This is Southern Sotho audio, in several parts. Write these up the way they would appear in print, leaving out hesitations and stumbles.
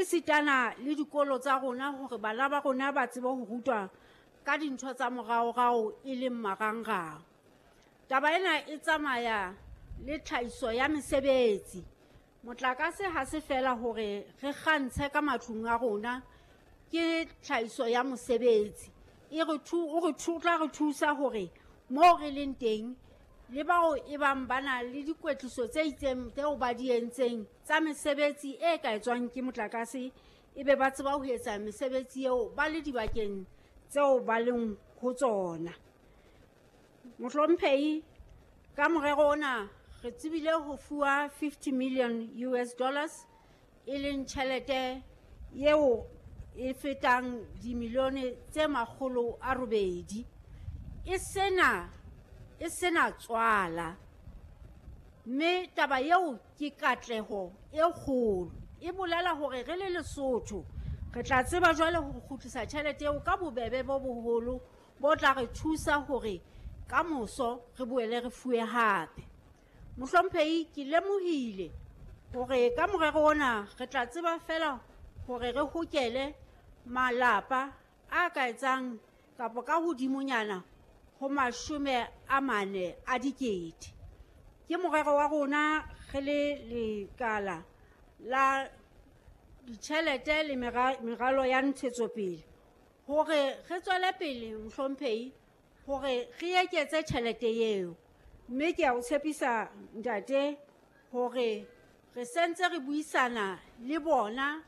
E sitana le dikolo tsa rona hore bana ba rona ba tsebe ho rutwa ka dintho tsa moraorao e leng marangrang. Taba ena e tsamaya le tlhahiso ya mesebetsi. Motlakase ha se fela hore re kgantshe ka matlung a rona, ke tlhahiso ya mosebetsi. E re o re tla re thusa hore moo re leng teng le bao e bang ba na le dikwetliso tse itseng tseo ba di entseng tsa mesebetsi e ka etswang ke motlakase, e be ba tseba ho etsa mesebetsi eo ba le dibakeng tseo ba leng ho tsona. Mohlomphehi, ka morero ona re tsebile ho fuwa 50 million US dollars, e leng tjhelete eo e fetang dimilione tse 800. E sena tswala, mme taba eo ke katleho e kgolo. E bolela hore re le Lesotho re tla tseba jwale ho kgutlisa tjhelete eo ka bobebe bo boholo bo tla re thusa hore ka moso re boele re fuwe hape. Mohlomphehi, ke lemohile hore ka morero ona re tla tseba fela hore re hokele malapa a ka etsang kapa ka hodimonyana ho 40 000. Ke morero wa rona re le lekala la ditjhelete le meralo ya ntshetsopele hore re tswele pele, mohlomphehi, hore re eketse tjhelete eo. Mme ke a o tshepisa ntate hore re sentse re buisana le bona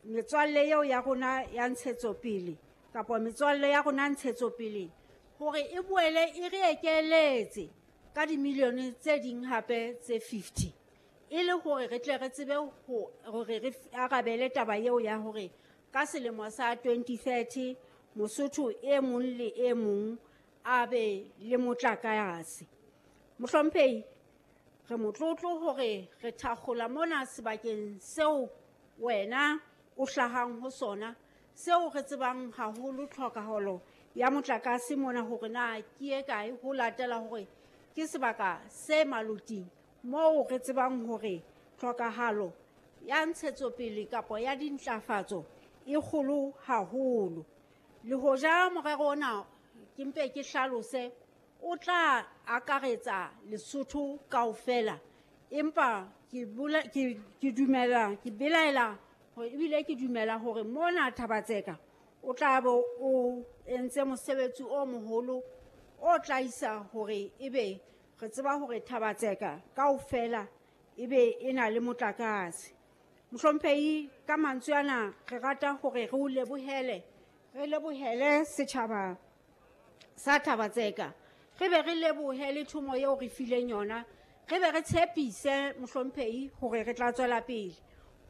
metswalle eo ya rona ya ntshetsopele kapa metswalle ya rona ntshetsopele hore e boele e re ekeletse ka dimilione tse ding hape tse 50, e le hore re tle re tsebe hore re arabele taba eo ya hore ka selemo sa 2030 Mosotho e mong le e mong a be le motlakase. Mohlomphehi, re motlotlo hore re thakgola mona sebakeng seo wena o hlahang ho sona, seo re tsebang haholo tlhokahalo ya motlakase mona hore na ke e kae, ho latela hore ke sebaka se maloting moo re tsebang hore tlhokahalo ya ntshetsopele kapa ya dintlafatso e kgolo haholo. Le hoja morero ona ke mpe ke hlalose o tla akaretsa Lesotho kaofela, empa ke dumela, ke belaela hore ebile ke dumela hore mona Thaba-Tseka o tla be o entse mosebetsi o moholo o tla isa hore ebe re tseba hore Thaba-Tseka kaofela ebe e na le motlakase. Mohlomphehi, ka mantswe ana re rata hore re o lebohele, re lebohele setjhaba sa Thaba-Tseka, re be re lebohe le thomo eo re fileng yona, re be re tshepise mohlomphehi hore re tla tswela pele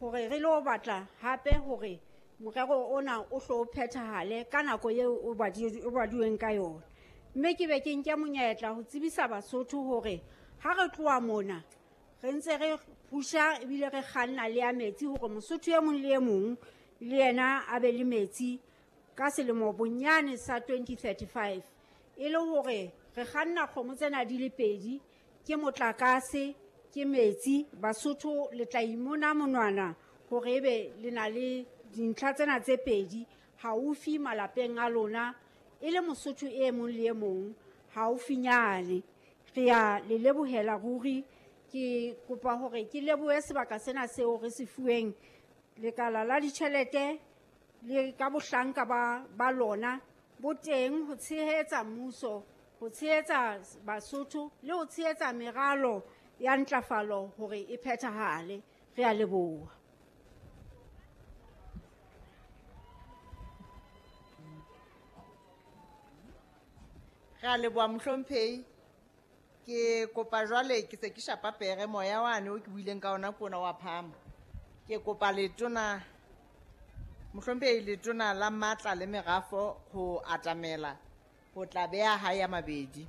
hore re lo batla hape hore morero ona o hlo phethahale ka nako eo o baduweng ka yona. Mme ke be ke nke monyetla ho tsebisa Basotho hore ha re tloha mona re ntse re pusha ebile re kganna le ya metsi hore Mosotho e mong le e mong le yena a be le metsi ka selemo bonyane sa 2035, e le hore re kganna kgomo tsena di le pedi, ke motlakase ke metsi. Basotho le tla imona monwana hore ebe le na le dintlha tsena tse pedi haufi malapeng a lona, e le Mosotho e mong le e mong haufinyane. Re a le lebohela ruri. Ke kopa hore ke lebohe sebaka sena seo re se fuweng lekala la ditjhelete le ka bohlanka ba lona bo teng ho tshehetsa mmuso, ho tshehetsa Basotho le ho tshehetsa meralo ya ntlafalo hore e phethahale. Re a leboha. Re a leboha mohlomphehi. Ke kopa jwale ke se ke shapa pere moya wane o ke buileng ka ona ke ona wa phama. Ke kopa letona mohlomphehi, letona la matla le merafo ho atamela ho tla beha hae ya mabedi.